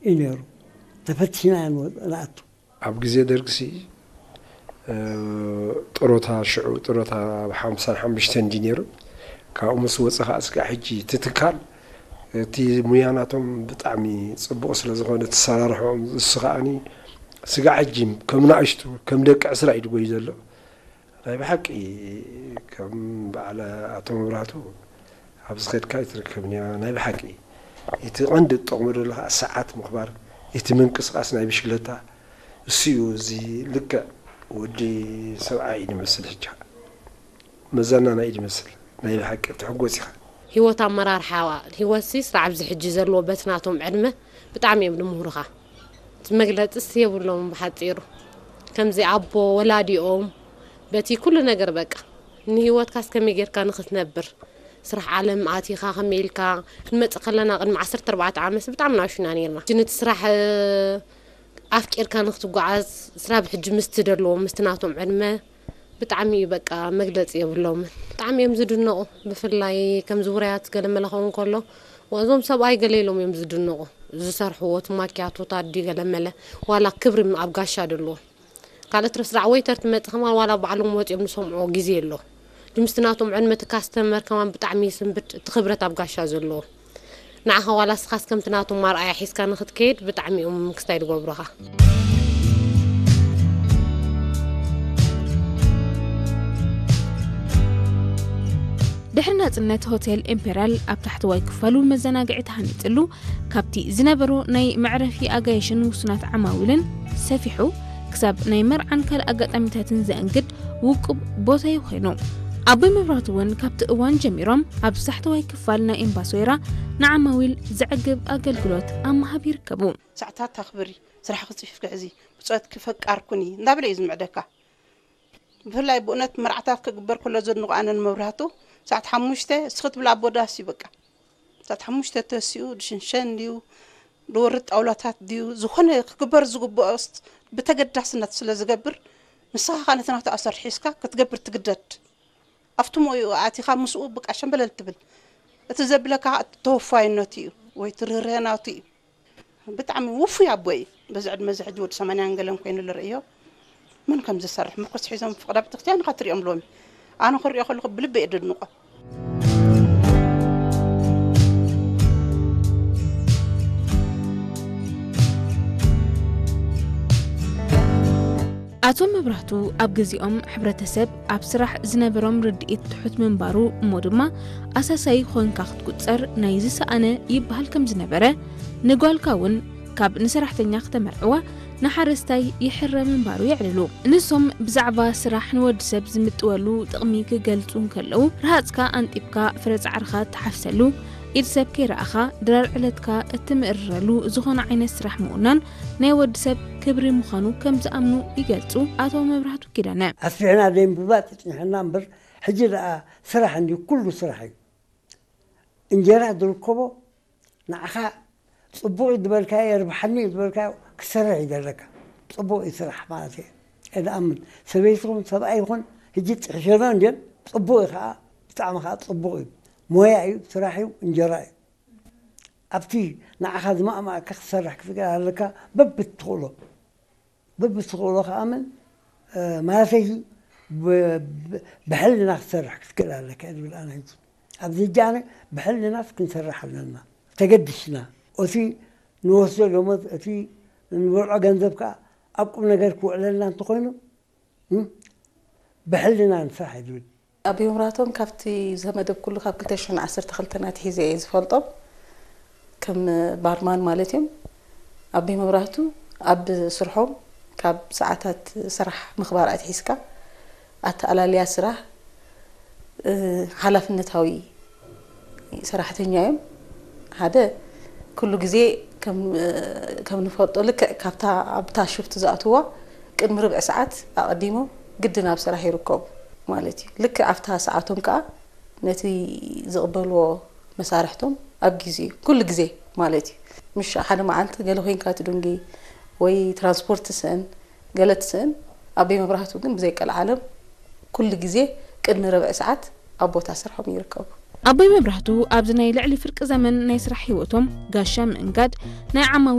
እዩ ነይሩ። ተፈቲሽና ንወ- ንኣቱ። ኣብ ግዜ ደርግሲ፣ እ፣ ጥሮታ፣ ሽዑ ጥሮታ ኣብ ሓምሳን ሓሙሽተን እንዲ ነይሩ። ካብኡ ምስ ወፀ ከዓ ስጋዕ ሕጂ እቲ ትካል፣ እቲ ሙያ ናቶም ብጣዕሚ ፅቡቕ ስለ ዝኾነ፣ እቲ ኣሰራርሕኦም፣ እሱ ከዓኒ ስጋዕ ሕጂ ከም ንኣሽቱ፣ ከም ደቂ ዕስራ እዩ ድጎይ ዘሎ። ናይ ብሓቂ ከም በዓል ኣቶ መብራህቱ ኣብዚ ኸድካ ኣይትርከብን እያ። ናይ ብሓቂ እቲ ቀንዲ እትጠቕሞ ዘለኻ ሰዓት ምኽባር፣ እቲ ምንቅስቓስ ናይ ብሽክለታ፣ እሱ እዩ። እዚ ልክዕ ወዲ ሰብኣይ እዩ ዝመስል። ሕጂ መዘናና እዩ ዝመስል። ናይ ብሓቂ ትሕጎስ ኢኻ። ህይወት ኣመራርሓ፣ ህይወትሲ ስራዕ ኣብዚ ሕጂ ዘለዎ በቲ ናቶም ዕድመ ብጣዕሚ እዮም ዝምህሩኻ። እቲ መግለፂስ የብሎም ብሓፂሩ። ከምዚ ኣቦ ወላዲኦም በቲ ኩሉ ነገር በቃ ንህይወትካስ ከመይ ጌርካ ንኽትነብር ስራሕ ዓለም ኣቲኻ ከመይ ኢልካ ክንመፅእ ከለና ቅድሚ ዓሰርተ ኣርባዕተ ዓመት ብጣዕሚ ናሽና ነርና። ሕጂ ነቲ ስራሕ ኣፍቂርካ ንክትጓዓዝ ስራ ብሕጂ ምስቲ ደለዎ ምስቲ ናቶም ዕድመ ብጣዕሚ እዩ በቃ መግለፂ የብሎምን። ብጣዕሚ እዮም ዝድነቑ። ብፍላይ ከምዚ ውራያት ገለመለ ክኸውን ከሎ እዞም ሰብኣይ ገለ ኢሎም እዮም ዝድነቑ። ዝሰርሕዎ እቲ ማኪያቶታት ድዩ ገለመለ ዋላ ክብሪ ኣብ ጋሻ ደለዎ። ካልእ ትረፍ ስራዕ ወይተር ትመጽእ ከማን ዋላ ባዕሎም ወጺኦም ዝሰምዕዎ ግዜ ኣሎ። ድምስቲ ናቶም ዕድመ እቲ ካስተመር ከማን ብጣዕሚ ይስንብድ፣ እቲ ክብረት ኣብ ጋሻ ዘለዎ። ንዓኻ ዋላ እስኻስ ከምቲ ናቶም ኣርኣያ ሒዝካ ንኽትከይድ ብጣዕሚ እዮም ክስታይ ዝገብሩኻ። ድሕሪ ናጽነት ሆቴል ኢምፔርያል ኣብ ታሕተዋይ ክፋሉ መዘናግዒ ተሃኒጽሉ፣ ካብቲ ዝነበሮ ናይ መዕረፊ ኣጋይሽን ውሱናት ዓማዊልን ሰፊሑ፣ ክሳብ ናይ መርዓን ካልእ ኣጋጣሚታትን ዘእንግድ ውቁብ ቦታ እዩ ኮይኑ። ኣቦይ መብራህቱ እውን ካብቲ እዋን ጀሚሮም ኣብ ታሕተዋይ ክፋል ናይ ኤምባሲ ወይራ ንዓማዊል ዘዕግብ ኣገልግሎት ኣብ ምሃብ ይርከቡ። ሰዓታት ኣኽብሪ፣ ስራሕኺ ጽፊፍኪ ሕዚ፣ ብጾትኪ ፈቃር ኩኒ እንዳበለ እዩ ዝምዕደካ። ብፍላይ ብእውነት መርዓታት ክግበር ከሎ ዘድንቖ ኣነ ንመብራህቱ፣ ሰዓት ሓሙሽተ እስኺ ትብል ኣቦ ዳስ እዩ በቃ። ሰዓት ሓሙሽተ ተሲኡ ድሽንሸን ድዩ፣ ድወርድ ጣውላታት ድዩ፣ ዝኾነ ክግበር ዝግብኦ ስ-፣ ብተገዳስነት ስለ ዝገብር፣ ንስኻ ኸኣ ነቲ ናቱ ኣሰር ሒዝካ ክትገብር ትግደድ። ኣብቲ ሞይኡ ኣቲኻ ምስኡ ብቃ ሸምበለል ትብል። እቲ ዘብለካ ተወፋይነቱ እዩ ወይ እቲ ርህርህናቱ እዩ። ብጣዕሚ ውፉይ ኣቦ እዩ። በዚ ዕድመ እዚ ሕጂ ወዲ ሰማንያን ገለን ኮይኑ ዝርእዮ መን ከም ዝሰርሕ ምርኩስ ሒዞም ፍቕዳ ቤተክርስትያን ኢኻ ትሪኦም ሎሚ። ኣነ ክሪኦ ከለኹ ብልበይ እየ ደድንቖ። ኣቶ መብራህቱ ኣብ ግዜኦም ሕብረተሰብ ኣብ ስራሕ ዝነበሮም ርድኢት ትሑት ምንባሩ እሞ ድማ ኣሳሳዪ ኾንካ ክትቁጸር ናይ ዝሰኣነ ይበሃል ከም ዝነበረ፣ ንጓልካ እውን ካብ ንሰራሕተኛ ክተመርዕዋ ንሓረስታይ ይሕረ ምንባሩ የዕልሉ። ንሶም ብዛዕባ ስራሕ ንወዲ ሰብ ዝምጥወሉ ጥቕሚ ክገልጹ እንከለዉ፣ ረሃጽካ ኣንጢብካ ፍረ ጻዕርኻ እትሓፍሰሉ፣ ኢድ ሰብ ከይረኣኻ ድራር ዕለትካ እትምእርረሉ ዝኾነ ዓይነት ስራሕ ምውናን ናይ ወዲ ሰብ ክብሪ ምዃኑ ከም ዝኣምኑ ይገልጹ ኣቶ መብራህቱ ኪዳነ። ኣስፊሕና ዘይምፍላጥ ይጽንሐና እምበር፣ ሕጂ ደኣ ስራሕ እንድዩ፣ ኩሉ ስራሕ እዩ። እንጀራ ዝርከቦ ንዓኻ ጽቡቕ እዩ ዝበልካዮ፣ የርብሓኒ እዩ ዝበልካዮ ክሰርሕ እዩ ዘለካ። ጽቡቕ እዩ ስራሕ ማለት እየ፣ እየ ዝኣምን። ሰበይቲ ይኹን ሰብኣይ ይኹን ሕጂ ጽሒፈና እንድየን፣ ጽቡቕ እዩ ከኣ፣ ብጣዕሚ ከኣ ጽቡቕ እዩ። ሞያ እዩ፣ ስራሕ እዩ፣ እንጀራ እዩ። ኣብቲ ንዓኻ ዝማእማእካ ክትሰርሕ ክትክእል ኣለካ፣ በብትኽእሎ። በብትኽእሎ ከኣ ምን፣ እ፣ ማለተይ ብ-፣ ብ-፣ ብሕልና ክትሰርሕ ክትክእል ኣለካ እየ ዝብል ኣነ ሕጂ። ኣብዚ ሕጂ ኣነ ብሕልናስ ክንሰርሕ ኣለና። ተገዲስና። እቲ ንወስዶ ደሞዝ፣ እቲ ንበልዖ ገንዘብ ከኣ ኣብ ቁም ነገር ክውዕለልና እንተኾይኑ፣ እም፣ ብሕልና ንስራሕ እየ ዝብል። ኣቦይ መብራህቶም ካብቲ ዝተመደብኩሉ ካብ ክልተ ሽሕን ዓሰርተ ክልተን ኣትሒዘ እየ ዝፈልጦም። ከም ባርማን ማለት እዮም። ኣቦይ መብራህቱ ኣብ ስርሖም ካብ ሰዓታት ስራሕ ምኽባር ኣትሒዝካ ኣተኣላልያ ስራሕ፣ እ፣ ሓላፍነታዊ ሰራሕተኛ እዮም። ሓደ፣ ኩሉ ግዜ ከም፣ ከም ንፈልጦ ልክዕ ካብታ ኣብታ ሽፍት ዝኣትዋ ቅድሚ ርብዒ ሰዓት ኣቐዲሞም ግድን ኣብ ስራሕ ይርከቡ ማለት እዩ። ልክዕ ኣብታ ሰዓቶም ከኣ ነቲ ዝቕበልዎ መሳርሕቶም ኣብ ግዜኡ፣ ኩሉ ግዜ ማለት እዩ። ምሽ ሓደ መዓልቲ ገለ ኮይንካ ትድንጊ ወይ ትራንስፖርት ትስእን፣ ገለ ትስእን፣ ኣቦይ መብራህቱ ግን ብዘይ ቀልዓለም ኩሉ ግዜ ቅድሚ ርብዒ ሰዓት ኣብ ቦታ ስርሖም ይርከቡ። ኣቦይ መብራህቱ ኣብዚ ናይ ልዕሊ ፍርቂ ዘመን ናይ ስራሕ ህይወቶም ጋሻ ምእንጋድ ናይ ዓማዊ